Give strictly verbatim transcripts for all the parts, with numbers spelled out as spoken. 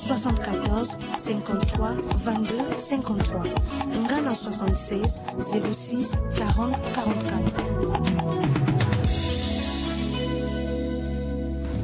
soixante-quatorze cinquante-trois vingt-deux cinquante-trois nga na soixante-seize zéro six quarante quarante-quatre.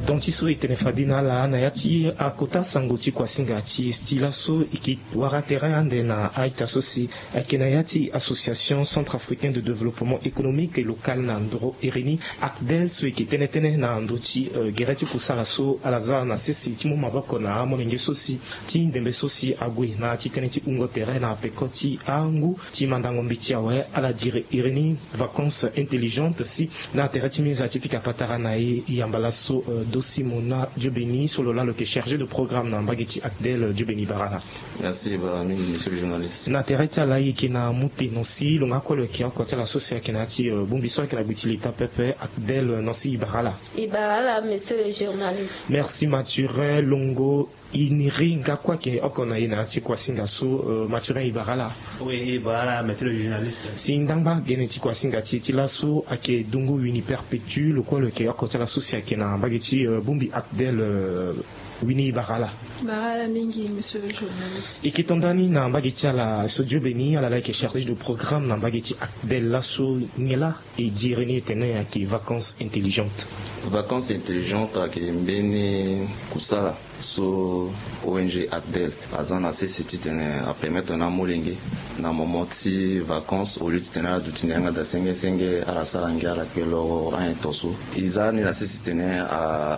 Donc ti so e tene fade na ala na ya ti akota sango ti kuasinga ti e ti laso e ke wara tere ande na a-ita so si ayeke na ya ti Association Centrafricaine de Développement Économique et Local na ndoro iri ni, ACDEL, so e yeke tënë tënë na ndö ti gere ti kusala so ala za na sese ti mu maboko na amolenge so si ti ndembe so si ague na ya ti tënë ti wungo tere na peko ti angu ti mandango mbeti awe ala dire iri ni vacances intelligentes si na tere ti mbi za ti pika patara na e yamba laso Dosimona Diobeni so lo laa lo yeke chargé de programme na mbage ti ACDEL. Diobeni bara ala. Merci bara mingi monsieur le journaliste. Na tere ti ala e yeke na mute Nancy lo nga kue lo yeke oko ti ala so si ayeke na ya ti bongbi so ayeke na gbe ti leta pepe ACDEL. Nancy e bara ala. E bara ala monsieur le journaliste. Merci Mathurin Longo. E niri nga kue ayeke oko na e na ya ti kuasinga so. Mathurin e bara ala. Oui e bara ala monsieur le journaliste. Si ndangba gene ti kuasinga ti e ti laso ayeke dungu Winnie Perpétue lo kue lo yeke oko ti ala so si ayeke na mbage ti bongbi ACDEL. Winnie e bara ala. Bara ala mingi monsieur le journaliste. E ke to ndani na mbage ti ala so Diobeni ala laa e yeke chargé de programme na mbage ti ACDEL laso nyen laa e dire ni e tene ayeke vacances intelligentes. Vacances intelligentes ayeke mbeni kusala so ONG ACDEL aza na sese titene apermettre na amolenge na moment ti vacances au lieu titene ala duti na yanga daa senge senge ala sara ngia ala kpe loro anyen to so. E za ni na sese titene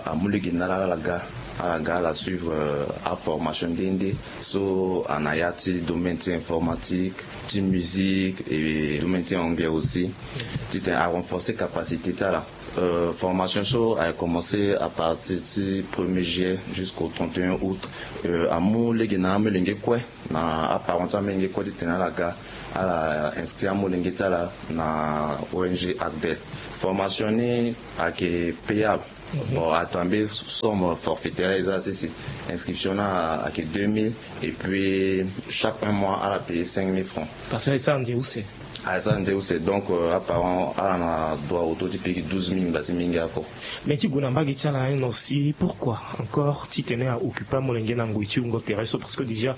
amu lege na ala ala ga ala ga ala suivre aformation nde nde so ana ya ti domaine ti informatique, ti musique et domaine ti anglais aussi titene arenforcer capacité ti ala. Formation so ayeke commencer à partir ti premier juillet jusqu'au trente et un août. Amu lege na amolenge kue na aparent ti amolenge kue titene ala ga ala inscrit amolenge ti ala na ONG ACDEL. Formation ni ayeke payable. Bon ato ambe somme forfaitaire eza sese. Inscription ni ayeke deux mille et puis chaque un mois ala payer cinq mille francs. Parce que e sara nze use. Aye sara nze use donc aparent ala na droit auto ti pigi douze mille ngba ti mingi ako. Mais ti gue na mbage ti ala un aussi pourquoi encore titene aoccupe amolenge na ngoi ti wungo tere so parce que déjà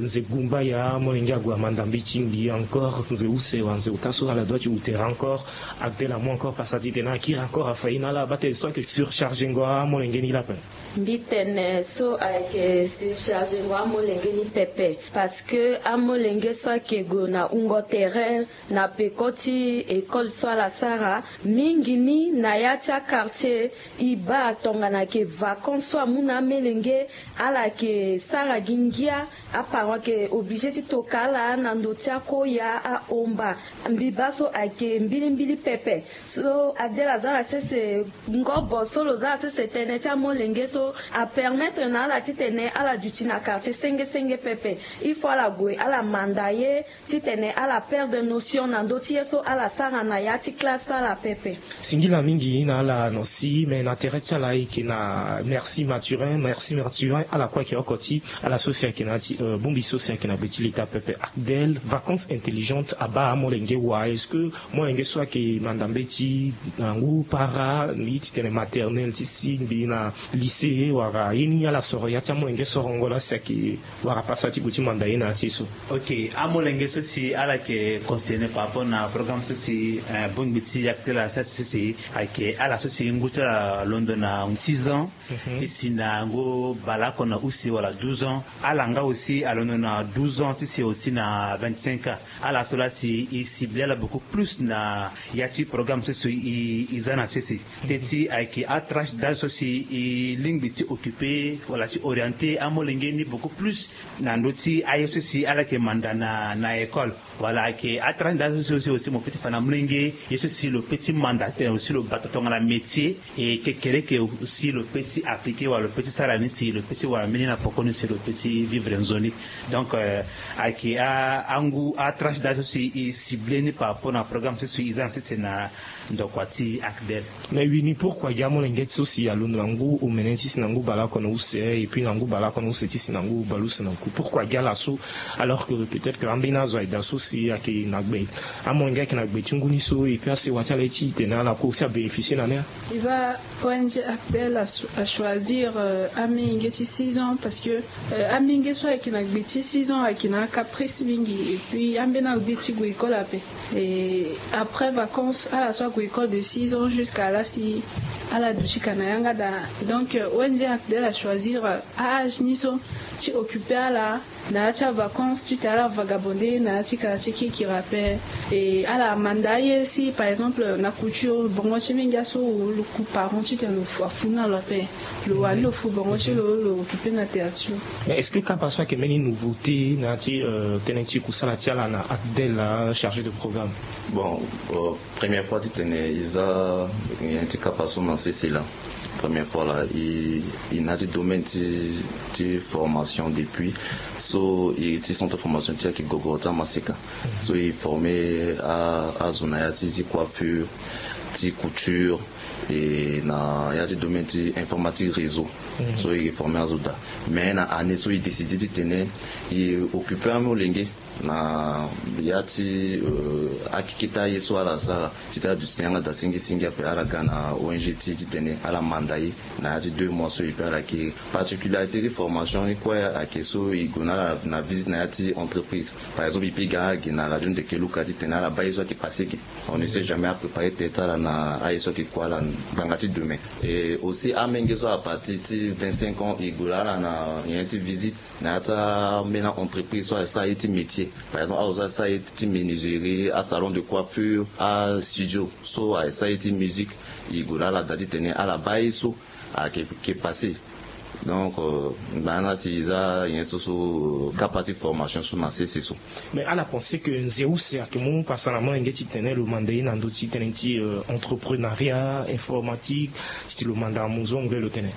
nze gumba ya amolenge ague amanda mbi ti mbi encore nze use wala nze ota so ala doit ti wu tere encore. Agdel amu encore pasa titene akiri encore afa ye na ala abate so ayeke surchargengo amolenge ni lape. Mbi tene so ayeke surchargengo amolenge ni pepe. Parce que amolenge so ayeke gue na wungo tere na peko ti école so ala sara mingi ni na ya ti aquartier. E baa tongana ayeke vacances so amu na amolenge ala yeke sara gi ngia. Aparent ayeke obligé ti toka ala na ndo ti akoya ahomba. Mbi baa so ayeke mbilimbili pepe. So adela aza na sese ngobo so lo za na sese tënë ti amolenge so apermettre na ala titene ala duti na quartier senge senge pepe. Il faut ala gue ala manda ye titene ala perdre notion na ndö ti ye so ala sara na ya ti classe ti ala pepe. Singila mingi na ala na si me na tere ti ala ayeke na merci Mathurin merci Mathurin ala kue ayeke oko ti ala so si ayeke na ya ti bongbi so si ayeke na be ti leta pepe. Agdel vacances intelligentes abaa amolenge wa est-ce que molenge so ayeke manda mbeti na ngu para mbi titene maternelle ti si mbi na lycée wala ye ni ala soro ya ti amolenge sorongo laa si ayeke wara pasa ti gue ti manda ye na ya ti ye so. Ok amolenge so si ala yeke concerné par rapport na programme so si bongbi ti akte la sasi so si ayeke ala so si ngu ti ala londo na six ans ti si na ngu baleoko na use wala douze ans. Ala nga aussi alondo na douze ans ti si aussi na vingt-cinq ans. Ala so laa si e cible ala beaucoup plus na ya ti programme so si e za na sese. Teti ayeke atranche d'âge so si e lingbi ti occuper wala ti orienter amolenge ni beaucoup plus na ndö ti aye so si ala yeke manda na école. Wala ayeke atranche d'âge so si aussi mo pe ti fa na molenge ye so si lo pe ti manda tene aussi lo bata tongana métier. E kekereke aussi lo pe ti appliquer wala lo pe ti sara ni si lo pe ti wara mbeni na poko ni si lo pe ti vivre nzoni. Donc ayeke angu atranche d'âge so si e cible ni par rapport na programme so si e za na sese na ndokua ti akdel. Mais wini pourquoi? Molenge ti so si alondo na ngu omene ti si na ngu baleoko na use, et puis na ngu baleoko na use ti si na ngu baleuse na ngu. Pourquoi gi ala so? Alors que peut-être que ambeni azo ayeke daa so si ayeke na gbe, amolenge ayeke na gbe ti ngu ni so, et puis asewa ti ala ye ti tene ala kue aussi abénéficier na ni. E baa, O N G ACDEL a choisir amolenge ti six ans parce que amolenge so ayeke na gbe ti six ans ayeke na acaprice mingi, et puis ambeni azo de ti gue école ape. Et après vacances, ala so ague école de six ans jusqu'à la si ala duti ka na yanga daa. Donc euh, O N G ACDEL a choisir euh, âge ni so ti occuper ala na ya ti avacances ti tene ala vagabonder na ya ti ka ti kirikiri ape. Et ala manda aye si par exemple na couture bongo ti mingi aso lo ku parent ti tene lo fu afu na lo ape. Lo wani lo fu bongo ti lo lo occuper na terre ti lo. Mais est-ce que kapa so ayeke mbeni nouveauté na ya ti euh, tënë ti kusala ti ala na ACDEL, chargé de programme? Bon, euh, première fois ti tene e za nyen ti kapa so na sese laa. Première fois laa e na ya ti domaine ti ti formation depuis so e ti centre formation ti ayeke gogoro ti amaseka. So e former azo na ya ti ti coiffure, ti couture, et na ya ti domaine ti informatique réseau. So e former azo daa. Mais na année so e décider ti tene e occuper amolenge na ya ti akeke ti aye so ala sara ti tene aduti na yanga daa singi singi ape, ala ga na O N G ti e ti tene ala manda e na ya ti deux mois so e pe ala kiri. Particularité ti formation ni kue ayeke so e gue na ala na visite na ya ti entreprise. Par exemple e pe ga ala gi na radio ndeke luka ti tene ala baa ye so ayeke passé ge. On ne sait jamais apréparer tête ti ala na aye so ayeke kua ala ngbanga ti demain. Et aussi amenge so à partir ti vingt-cinq ans e gue na ala na nyen ti visite na ya ti ambeni entreprise so asara ye ti métier. Par exemple azo so asara ye ti menuiserie, asalon de coiffure, astudio so asara ye ti musique. E gue na ala daa ti tene ala baa ye so ayeke passé. Donc euh, ngbanga ni si e za nyen so so kapa ti formation so na sese so. Mais ala pense que nze use ayeke mu pasa na molenge ti tene lo manda e na ndö ti tënë ti euh, entrepreneuriat informatique, ti ti lo manda amu zo anglais lo tene?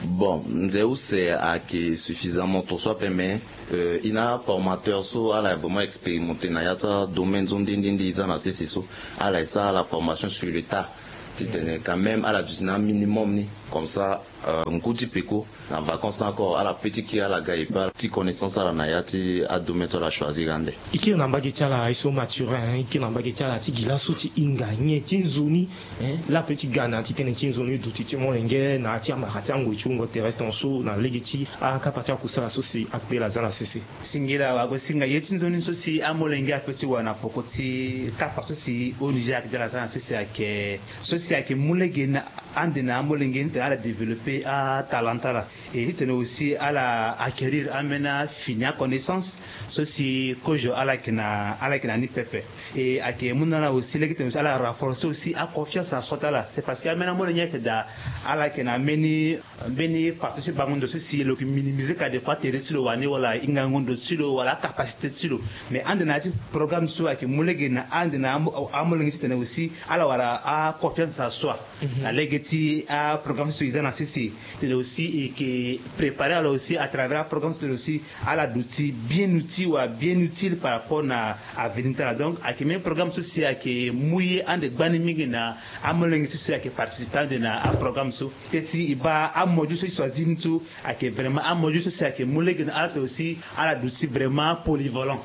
Bon, nze use ayeke suffisamment to so ape, mais euh, e na aformateur so ala vraiment expérimenté na ya ti adomaine so nde nde nde e za na sese so. Ala e sara ala formation sur le tas ti tene quand même ala duti na aminimum ni. Comme ça euh, ngu ti peko na vacances encore ala pe ti kiri ala ga e pe ala ti connaissance ala na ya ti adomaine so ala choisir ande. E kiri na mbage ti ala e so Mathurin, e kiri na mbage ti ala ti gi laso ti hinga nyen ti nzoni laa ape ti ga na ya ti tënë ti nzoni duti ti molenge na ya ti amara ti angoi ti wungo tere tongaso na lege ti akapa ti akusala so si ACDEL aza na sese? Singila wagosinga ye ti nzoni so si amolenge ape ti wara na poko ti kapa so si O N G ACDEL aza na sese ayeke so si ayeke mu lege na ande na amolenge ni titene ala développer atalent ti ala. Et titene aussi ala acquérir ambeni afini aconnaissance so si kozo ala yeke na ala yeke na ni pepe. Et ayeke mu na ala aussi lege titene aussi ala renforcer aussi aconfiance na soi ti ala. C'est parce que ambeni amolenge ayeke daa ala yeke na mbeni mbeni façon ti bango ndo so si lo yeke minimiser ka des fois tere ti lo wani wala hingango ndo ti lo wala acapacité ti lo. Mais ande na ya ti programme so ayeke mu lege na ande na amolenge titene aussi ala wara aconfiance na soi na lege ti aprogramme so e za na sese. Titene aussi e yeke préparer ala aussi à travers aprogramme so titene aussi ala duti bien outil wala bien utile par rapport na avenir ti ala. Donc ayeke même programme so si ayeke mu ye ande gbani mingi na amolenge so si ayeke participer ande na aprogramme so. Teti e baa amodule so e choisir ni so ayeke vraiment amodule so si ayeke mu lege na ala titene aussi ala duti vraiment polyvalent.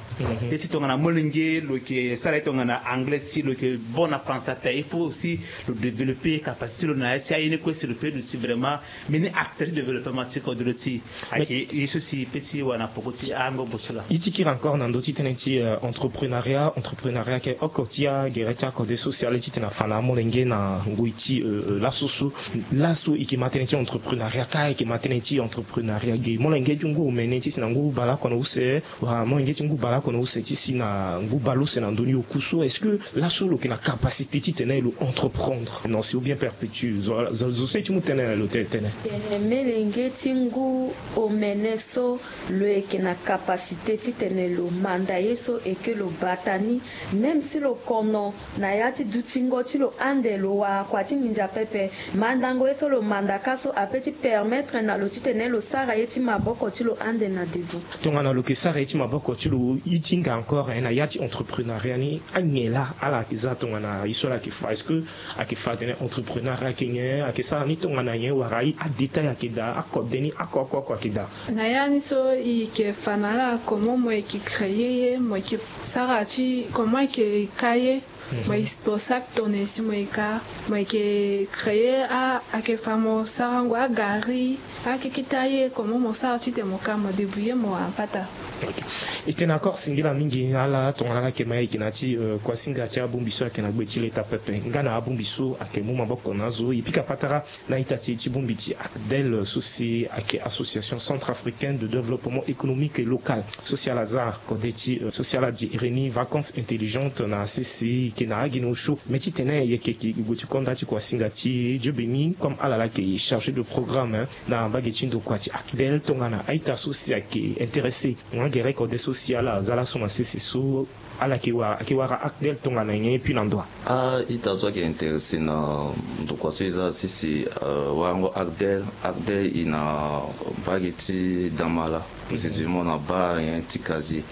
Teti tongana molenge lo yeke sara ye tongana anglais si lo yeke bon na français ape il faut aussi lo développer capacité ti lo na ya ti aye ni kue si lo peut duti vraiment mbeni acteur ti développement ti kodro ti e. Ayeke ye so si e peut ti wara na poko ti angobo so laa. E ti kiri encore na ndö ti tënë ti entrepreneuriat entrepreneuriat ayeke oko ti agere ti akode so si ala ye titene afa na amolenge na ngoi ti laso so. Laso e yeke ma tënë ti entrepreneuriat kâ e yeke ma tënë ti entrepreneuriat ge molenge ti ngu omene ti si na ngu baleoko na use wala molenge ti ngu baleoko na use ti si na ngu baleuse na ndö ni oku so est-ce que laso lo yeke na capacité titene lo entreprendre non si ou bien perpétue zo so e ti mu tënë na lo tene? Tene melenge ti ngu omene so lo yeke na kapasite titene lo manda ye so eke lo bata ni. Même si lo kono na ya ti dutingo ti lo ande, lo wara kua ti nginza pepe. Mandango ye so lo mandaka so ape ti permettre na lo titene lo sara ye ti maboko ti lo ande na devant. Tongana lo ke sara ye ti maboko ti lo, i ti hinga encore, eh, na ya ti entrepreneuriat ni, anyen laa ala ke za tongana ye so ala ke fa? Est-ce que ayeke fa atene entrepreneur ayeke nyen, ayeke sara ni tongana nyen, wala i adétail ayeke daa, akode ni oko oko oko ayeke daa? Na ya ni so i yeke fa na ala comment mo yeke créer ye, mo yeke sara ti comment i yeke ka ye, mo yeke, mo sara tongana nyen si mo yeke ka, mo yeke créer a, ayeke fa mo sarango agari, akeketa ye, comment mo sara titene mo ka mo débrouiller mo wara mpata. Ok. E tene encore singila mingi na ala tongana ala yeke ma ye yeke na ya ti, euh, kuasinga ti abongbi so ayeke na gbe ti leta pepe nga na abongbi so ayeke mu maboko na azo. E pika patara na ita ti e ti bongbi ti ACDEL so si ayeke Association Centrafricaine de Développement Économique et Local. So si ala za kode ti, euh, so si ala di iri ni vacances intelligentes na sese, e yeke na agi na osio. Mais titene e yeke gue ti konda ti kuasinga ti e, Dieu béni, comme ala laa ayeke chargé de programme, hein, na mbage ti ndokua ti ACDEL, tongana a-ita so si ayeke intéressé nga gere kode so si ala za laso na sese so, ala yeke wara, ayeke wara ACDEL tongana nyen, et puis na ndo wa? A-ita so ayeke intéressé na ndokua so e za sese, euh, warango ACDEL, ACDEL e na mbage ti Damala, précisément na baa nyen ti Kazié.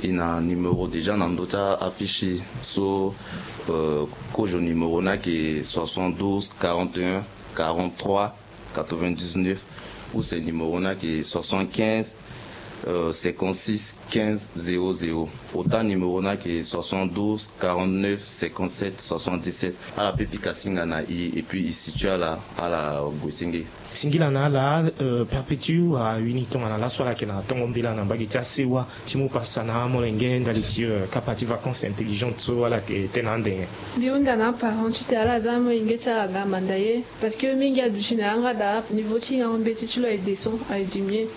E na numéro déjà na ndö ti a-affiche so, euh, kozo numéro ni ayeke soixante-douze quarante et un quarante-trois quatre-vingt-dix-neuf, use numéro ni ayeke soixante-quinze, euh, cinquante-six quinze zéro zéro. Ota numéro ni ayeke soixante-douze quarante-neuf cinquante-sept soixante-dix-sept. Ala peut pika singa na e, et puis e situé ala, ala gue ti nge. Singila na ala, euh, Perpétue, wala Winnie, tongana laso ala yeke na tongo mbela na mbage ti asewa ti mu pasa na amolenge ndali ti, euh, kapa ti vacances intelligentes so ala yeke tene na ande nyen? Mbi hunda na aparent titene ala za amolenge ti ala ga manda ye. Parce que mingi aduti na yanga daa, niveau ti hingango mbeti ti lo aye descend, aye diminuer.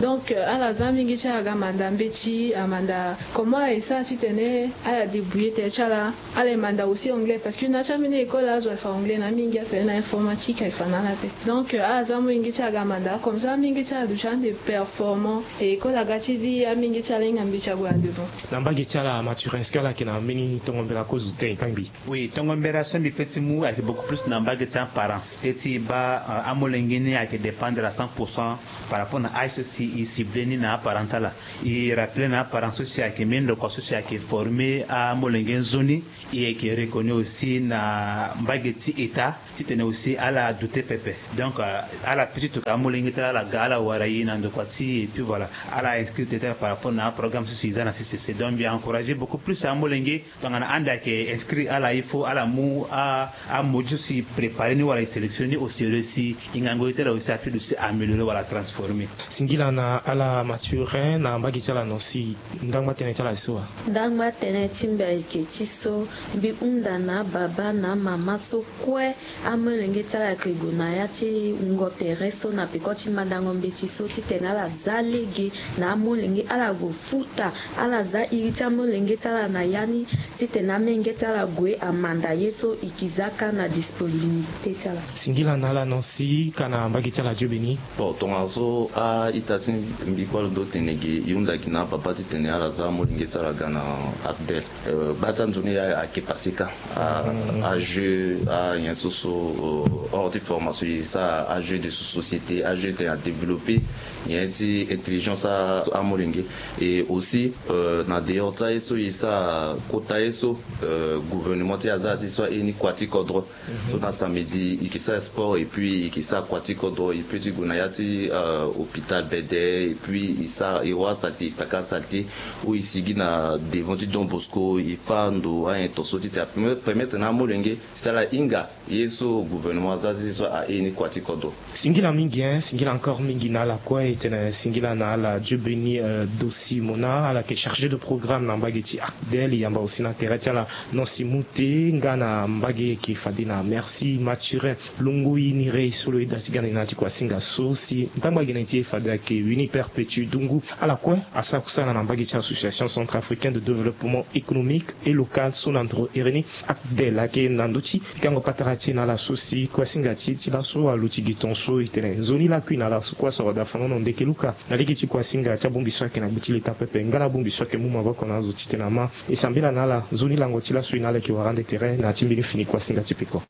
Donc, euh, ala za mingi ti ala ga manda mbeti, amanda comment ala ye sara titene ala débrouiller tere ti ala. Ala ye manda aussi anglais, parce que na ya ti ambeni école azo aye fa anglais na mingi ape, na informatique aye fa na ala ape. Donc, euh, ala za amolenge ti ala ga manda, comme ça amolenge ti ala aduti ande performant, et école aga ti zi, amolenge ti ala ahinga mbeti ague na devant. Na mbage ti ala Mathurin, est-ce que ala yeke na mbeni tongo mbela kozo tene e kangbi? Oui, tongo mbela so mbi peut ti mu ayeke beaucoup plus na mbage ti aparent. Teti baa, euh, amolenge ni ayeke dépendre à cent pour cent par rapport na âge so si e ciblé ni na aparent ti ala. E rappelé na aparent so si ayeke mbeni ndokua so si ayeke formé amolenge nzoni. E yeke reconnu aussi na mbage ti État titene aussi ala doute pepe. Donc, euh, ala peut ti toka amolenge ti ala, ala ga ala wara e na ndokua ti e, et puis voilà, ala inscrit ti ala par rapport na programme so si e za na C C C. Donc mbi encouragé beaucoup plus amolenge tongana ande ayeke inscrit ala, il faut ala mu a, amodule so si préparé ni wala e sélectionné ni au sérieux si hingango ye ti ala aussi apeut de si améliorer wala transformer. Singila na ala Mathurin na mbage ti ala Nancy, ndangba tënë ti ala so wa? Ndangba tënë ti mbi ayeke ti so mbi hunda na ababa na amama so kue amolenge ti ala ayeke gue na ya ti wungo tere so na peko ti mandango mbeti so titene ala za lege na amolenge, ala gue futa, ala za iri ti amolenge ti ala na ya ni, titene amolenge ti ala gue amanda ye so e ke za kâ na disponibilité ti ala. Singila na ala Nancy, ka na mbage ti ala Dieu béni. Bon, tongaso a-ita ti mbi kue alondo tene ge, e hunda gi na ababa titene ala za amolenge ti ala ga na ACDEL. Euh, gba ti anzoni ayeke passé kâ. A, ajeu, anyen so so, euh, hors ti formation e sara ajeu de sous-société, ajeu tene a développé nyen ti intelligence a, amolenge. Et aussi, euh, na dehors ti aye so e sara kota ye so, euh, gouvernement ti e aza ti so aye ni kua ti kodro. So na samedi e ke sara sport et puis e ke sara kua ti kodro, e peut ti gue na ya ti, euh, hôpital Bede, et puis e sara, e wara saleté, e kpaka saleté, ou e sigi na devant ti Don Bosco, e fâ ndo, anyen to so titene a permettre na amolenge titene ala hinga ye so gouvernement aza ti so aye ni kua ti kodro. Singila mingi, hein, singila encore mingi na ala kue, e tene singila na ala Dieu béni, euh, Dossi Mona, ala yeke chargé de programme na mbage ti ACDEL, e yamba aussi na tere ti ala Nancy Mouté, nga na mbage yeke fade na Merci Mathurin Longui Niré so lo yeda ti ga na ni na ya ti kuasinga so si ndangba gene ti e fade ayeke Winnie Perpétue. ngu. Ala kue asara kusala na mbage ti association centrafricaine de développement économique et local so na ndoro ere ni. Akde lake na ndö ti pikango patara ti e na ala so si kuasinga ti e ti laso aluti gi tongaso. E tene nzoni lakui na ala so kue asoro dafanono ndeke luka na lege ti kuasinga ti abongbi so ayeke na gbe ti leta pepe nga na abongbi so ayeke mu maboko na azo titene ama e sambela na ala. Nzoni lango ti laso e na ala yeke wara ande tere na ya ti mbeni fini kuasinga ti peko.